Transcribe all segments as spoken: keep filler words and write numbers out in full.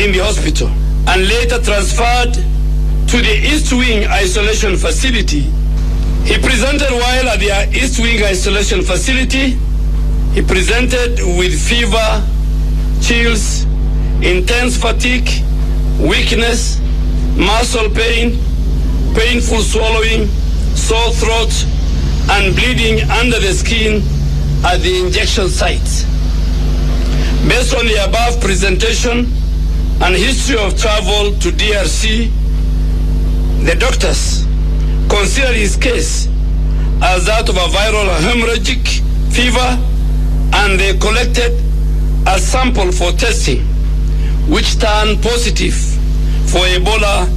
in the hospital and later transferred to the East Wing Isolation Facility. He presented while at the East Wing Isolation Facility. He presented with fever, chills, intense fatigue, weakness, muscle pain, painful swallowing, sore throat, and bleeding under the skin at the injection sites. Based on the above presentation and history of travel to D R C, the doctors considered his case as that of a viral hemorrhagic fever, and they collected a sample for testing, which turned positive for Ebola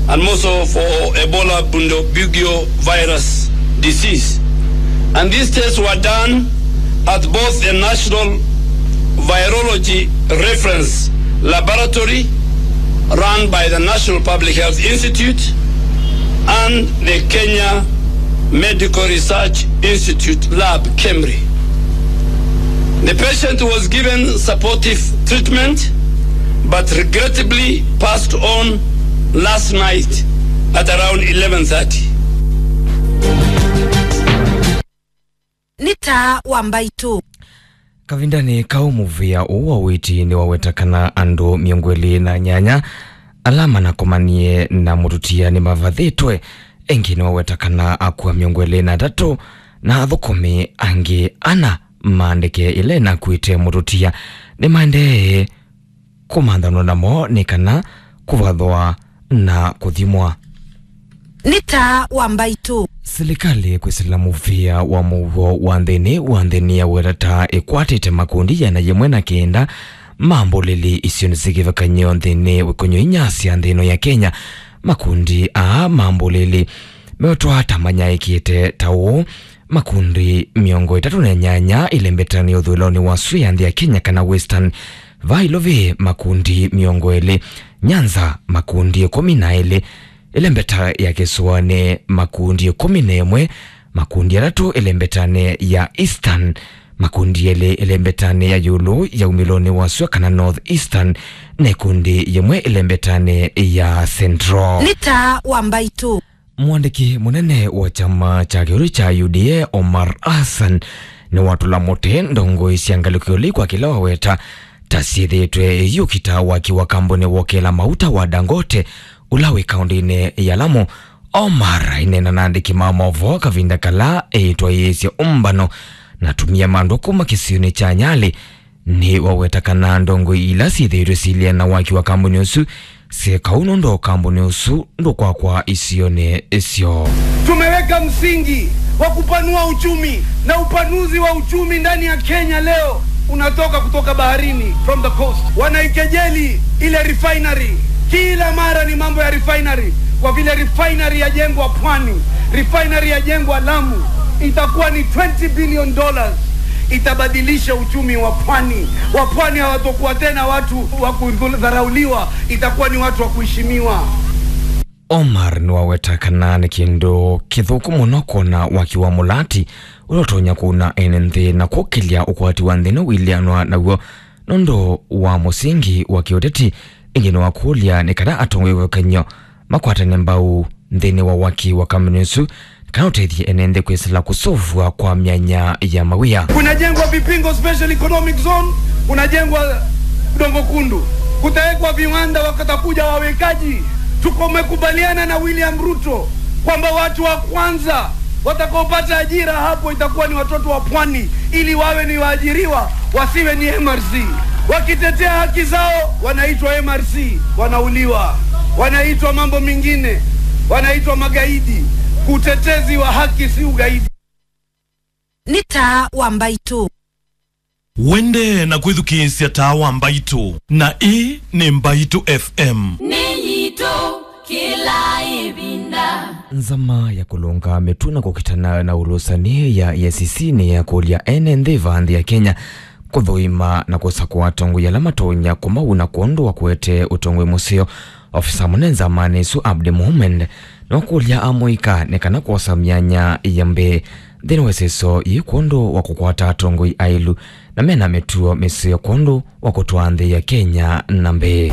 and also for Ebola Bundibugyo virus disease. And these tests were done at both the National Virology Reference Laboratory, run by the National Public Health Institute, and the Kenya Medical Research Institute lab, KEMRI. The patient was given supportive treatment but regrettably passed on last night at around eleven thirty. Nĩ taa wa mbaitũ. Kavindanĩ kau, mũvĩa ũũ wa ũiiti nĩwaweta kana andũ mĩongo ĩlĩ na nyanya ala manakomanie na mũtutia nĩmavathĩtwe. Ĩngĩ nĩwaweta kana akua mĩongo ĩlĩ na atatũ na athũkũmi angĩ ana ma ndeke ĩla ĩnakuĩte mũtutia nĩmaendee kũmanthanwa namo nĩ kana kũvathwa na kũthimwa. Nĩ taa wa mbaitũ. Silikalĩ kwĩsĩla mũvĩa wa mũuo wa nthĩnĩ wa nthĩ nĩyaweta ta ĩkwatĩte makundi ĩana yĩmwe na kenda ma mbũlĩli isionĩ syĩ kĩvathũkany'o nthĩnĩ wa ĩkũnyũ inya sya nthĩ ĩno ya Kenya. Makundi aa ma mbũlĩli meotwa ta manyaĩĩkĩte ta ũũ: makundi mĩongo ĩtatũ na nyanya ĩlembetanĩ ũthũĩlonĩ wa sua ya nthĩ ya Kenya kana Western. Vaa Ilovi makundi mĩongo ĩlĩ, Nyanza makundi ĩkũmi na elĩ, ĩlembeta ya kĩsũanĩ makundi ĩkũmi na ĩmwe, makundi atatũ ĩlembetanĩ ya Eastern, makundi elĩ ĩlembetanĩ ya ĩũlũ ya umĩlonĩ wa sua kana North Eastern, na ĩkundi yĩmwe ĩlembetanĩ ya Central. Nĩ taa wa mbaitũ. Mwandĩki mũnene wa kyama kya kĩũlũ kya U D A, Omar Hassan, nĩwatũla mũtĩ ndongoi sya ngalĩko ĩũlũ kwa kĩla waweta ta syĩthĩĩtwe iyũkita waki wa kambuni wa ũkĩla mauta wa Dangote ũla wĩ kaũndĩnĩ ya Lamu. Omar aineena na andĩki ma maũvoo kavinda kala eĩtwaĩĩsye ũmbano na atumĩa ma andũ kuma kĩsionĩ kya Nyali. Nĩwaweta kana ndongoi ila syĩthĩĩtwe siilya na waki wa kambuni ũsu syĩka ũu nũndũ kambuni ũsu ndũkwakwa isionĩ ĩsyo. Tumeweka msingi wa kupanua uchumi, na upanuzi wa uchumi ndani ya Kenya leo unatoka kutoka baharini, from the coast. Wanaikejeli ile refinery. Kila mara ni mambo ya refinery, kwa vile refinery yajengwa pwani, refinery yajengwa Lamu, itakuwa ni twenty billion dollars. Itabadilisha uchumi wa pwani. Wapwani hawatakuwa tena watu wa kudharauliwa, itakuwa ni watu wa kuheshimiwa. Omar nĩwaweta kana nĩ kĩndũ kĩthũku mũno kwona waki wa mũlati ũla ũtonya kũuna ene nthĩ na kũkĩlya ũkwati wa nthĩ nĩ wĩlĩanwa naw'o nũndũ wa mũsingi wa kĩũteti. Ĩngĩ nĩwakũlya nĩ kana atongoi wa kĩvathũkany'o makwatane mbau nthĩnĩ wa waki wa kambuni ũsu kana ũtethye ene nthĩ kwĩsĩla kũsũvw'a kwa myanya ya mawĩa. Kunajengwa Vipingo Special Economic Zone, kunajengwa Dongo Kundu, kutawekwa viwanda, wakatakuja wawekaji. Tuko, tumekubaliana na William Ruto kwamba watu wa kwanza watakaopata ajira hapo itakuwa ni watoto wa pwani, ili wawe ni waajiriwa, wasiwe ni M R C. Wakitetea haki zao, wanaitwa M R C, wanauliwa, wanaitwa mambo mengine, wanaitwa magaidi. Utetezi wa haki si ugaidi. Nĩ taa wa mbaitũ. Wendee na kwĩthukĩĩsya taa wa mbaitũ, na ĩĩ nĩ Mbaitũ F M. Nĩ yitũ kĩla ĩvinda. Nzama ya kũlũnga mĩtũ na kũkitana na ũlũsani ya E A C C nĩyakũlya ene nthĩ va nthĩ ya Kenya kũthũima na kũsakũa atongoi ala matonya kũmauna kwondũ wa kũete ũtongoi mũseo. Ofisa mũnene nzamanĩ ĩsu Abdi Mohamed nĩwakũlya amũika nĩ kana kwosa myanya ya mbee nthĩnĩ wa ĩseso yĩĩ kwondũ wa kũkwata atongoi aĩlu na mena mĩtuo mĩseo kwondũ wa kũtwaa nthĩ ya Kenya na mbee.